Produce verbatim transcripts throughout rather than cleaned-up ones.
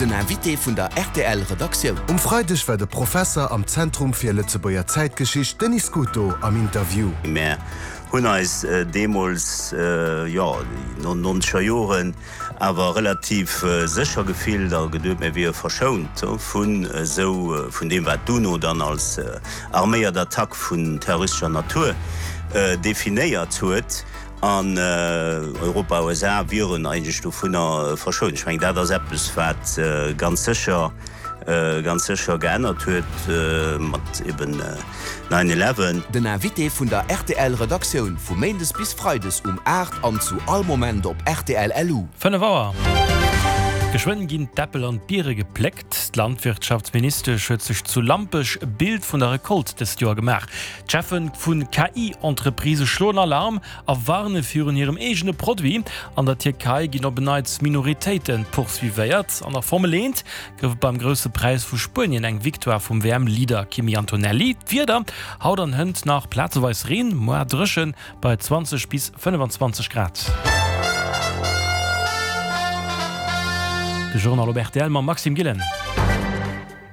Den Invité vun der R T L Redaktioun. Um Freideg war de Professer am Zentrum fir Lëtzebuerger Zäitgeschicht Denis Scuto am Interview. Mir hunn eis äh, deemools äh, ja, nonzeger Joren awer relativ äh, sécher gefillt, da geduecht mir wiere verschount vun äh, sou äh, vun deem wat d'UNO dann als äh, arméiert Attack vun terroristescher Natur äh, definéiert huet an äh, Europa U S A wieren eigentlech dovun äh, verschount. Ech mengen dat ass eppes wat äh, ganz sécher äh, ganz sécher geännert huet äh, mat eben äh, nine eleven. Den Invité vun der R T L Redaktioun vu Méindes bis Freides um aacht an zu all Moment op R T L L U. fënnef Auer. Geschwënn ginn d'Äppel an d'Biere gepléckt. D'Landwirtschaftsministesch huet sech zu Lampech e Bild vun der Rekolt dëst Joer gemaach. D'Cheffe vu K I-Entreprisë schloen Alarm a warne virun hirem eegene Produit. An der Tierkei ginn op en Neits Minoritéite poursuivéiert. An der Formel eent gouf et beim Grousse Präis vu Spuenien eng Victoire vum W M-Leader Kimi Antonelli. D'Wieder, haut an hënt nach plazeweis Reen, muer dréchen bei zwanzeg bis fënnefenzwanzeg Grad. De Journal op R T L mam Maxime Gillen.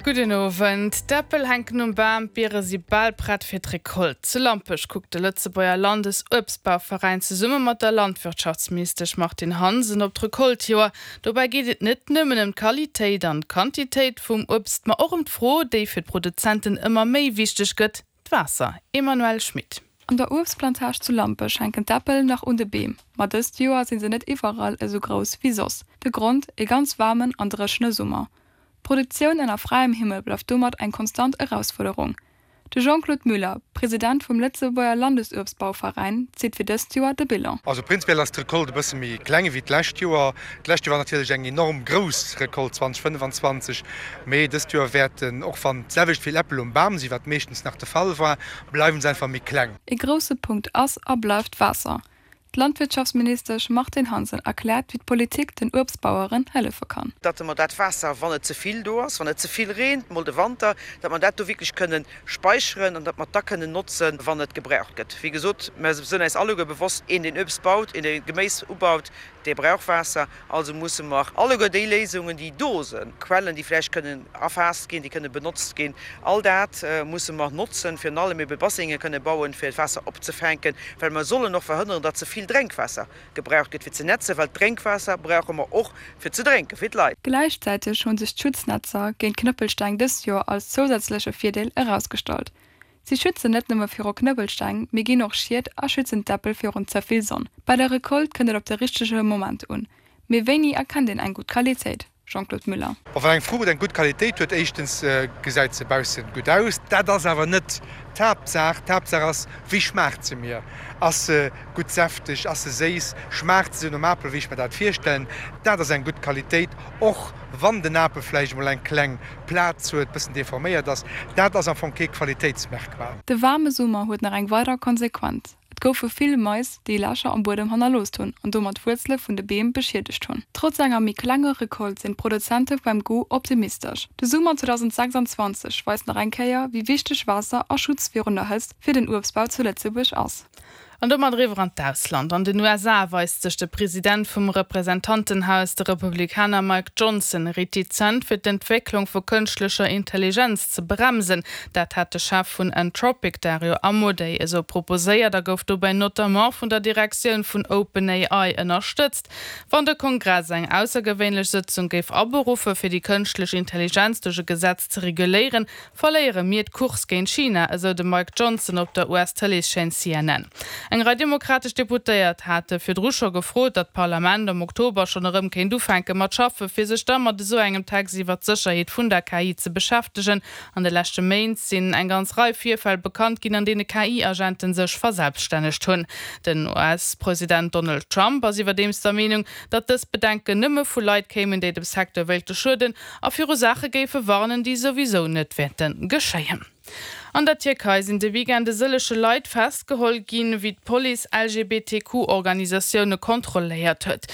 Gudden Owend. D'Äppel hänken um Bam, d'Biere si bal prett fir d'Rekolt. Zu Lampech kuckt de Lëtzebuerger Landesuebstbauveräin zesumme mat der Landwirtschaftsministesch Martine Hansen op d'Rekoltjoer. Dobäi geet et net nëmmen ëm d'Qualitéit an d'Quantitéit vum Uebst, ma och ëm d'Fro, déi fir d'Produzenten ëmmer méi wichteg gëtt, d'Waasser. Emmanuelle Schmit. An der Uebstplantage zu Lampech hänken d'Äppel nach un de Beem, ma dëst Joer sinn se net iwwerall esou grouss wéi soss. De Grond, e ganz waarmen an dréchene Summer. D'Produktioun ënner fräiem Himmel bleift domat eng konstant Erausfuerderung. De Jean-Claude Müller, President vum Lëtzebuerger Landesuebstbauveräin, zitt fir dëst Joer de Bilan. Also prinzipiell ass d'Rekolt e bësse méi kleng wéi d'lescht Joer. D'lescht Joer war natierlech eng enorm grouss Rekolt zweedausendfënnefenzwanzeg, mee dëst Joer wäerten, och wann d'selwecht vill Äppel um Bam sinn, wat meeschtens nach de Fall war, bleiwen se einfach méi kleng. E grousse Punkt ass a bleift d'Waasser. D'Landwirtschaftsministesch Martine Hansen erkläert, wéi d'Politik den Uebstbaueren hëllefe kann. Datt mer dat Waasser, wann et ze vill do ass, wann et ze vill reent, mol de Wanter, datt mer dat do wierklech kënne späicheren an datt mer dat kënnen notzen, wann et gebraucht gëtt. Wéi gesot, mir sinn eis alleguer bewosst, een deen Uebst baut, een dee Geméis ubaut, dee brauch Waasser, also musse mer alleguer déi Léisungen, déi do sinn, Quellen, déi vläicht kënnen erfaasst ginn, déi kënne benotzt ginn, all dat musse mer notzen, virun allem ebe Bassenge kënne bauen, fir d'Waasser opzefänken, well mer sollen och verhënneren, datt ze vill Drénkwaasser gebraucht gëtt fir ze nätzen, well d'Drénkwaasser brauche mer och fir ze drénken, fir d'Leit. Gläichzäiteg hunn sech d'Schutznetzer géint Knëppelsteng dëst Joer als zousätzleche Virdeel erausgestallt. Si schützen net nëmme viru Knëppelsteng, mee ginn och Schied a schützen d'Äppel virun ze vill Sonn. Bei der Rekolt kënnt et op de richtege Moment un. Mee wéini erkennt een eng gutt Qualitéit? Jean-Claude Müller. Wann eng Fruucht eng gutt Qualitéit huet, éischtens gesäit se bausse gutt aus. Dat ass awer net d'Haaptsaach. D'Haaptsaach ass, wéi schmaacht se mir? Ass se gutt säfteg, ass se séiss, schmaacht se nom Apel, wéi ech mir dat virstellen? Dat ass eng gutt Qualitéit, och wann den Apel vläicht mol eng kleng Plaz huet, bëssen deforméiert ass. Dat ass am Fong kee Qualitéitsmerkmal. De waarme Summer huet nach eng weider Konsequenz. Et goufe vill Mais, déi Lächer am Buedem hannerlooss hunn an domat d'Wuerzele vun de Beem beschiedegt hunn. Trotz enger méi klenger Rekolt sinn d'Produzente beim Goût optimistesch. De Summer zweedausendsechsanzwanzeg weist nach eng Kéier, wéi wichteg Waasser a Schutz virun der Hëtzt fir den Uebstbau zu Lëtzebuerg ass. An domat eriwwer an d'Ausland. An den U S A weist sech de President vum Representantenhaus, de Republikaner Mike Johnson, retizent fir d'Entwécklung vu kënschtlecher Intelligenz ze bremsen. Dat hat de Chef vun Anthropic Dario Amodei esou proposéiert a gouf dobäi notamment vun der Direktioun vun OpenAI ënnerstëtzt. Wann de Kongress eng aussergewéinlech Sëtzung géif aberuffe fir déi kënschtlech Intelligenz duerch e Gesetz ze reguléieren, verléiere mir d'Course géint China, esou de Mike Johnson op der U S-Tëleeschaîne C N N. Eng Rei demokratesch Deputéiert hate virdru scho gefrot, datt d'Parlament am Oktober schonn erëm kéint ufänke mat schaffe fir sech da mat esou engem Text iwwer d'Sécherheet vun der K I ze beschäftegen. An de leschte Méint sinn eng ganz Rei Virfäll bekannt ginn, an deene K I-Agenten sech verselbststännegt hunn. Den U S-President Donald Trump ass iwwerdeems der Meenung, datt dës Bedenken nëmme vu Leit kéimen, déi dem Secteur wéilte schueden a viru Saache géife warnen, déi souwisou net wäerte geschéien. An der Tierkei sinn de Weekend e sëllege Leit festgeholl ginn, wéi d'Police L G B T Q-Organisatioune kontrolléiert huet.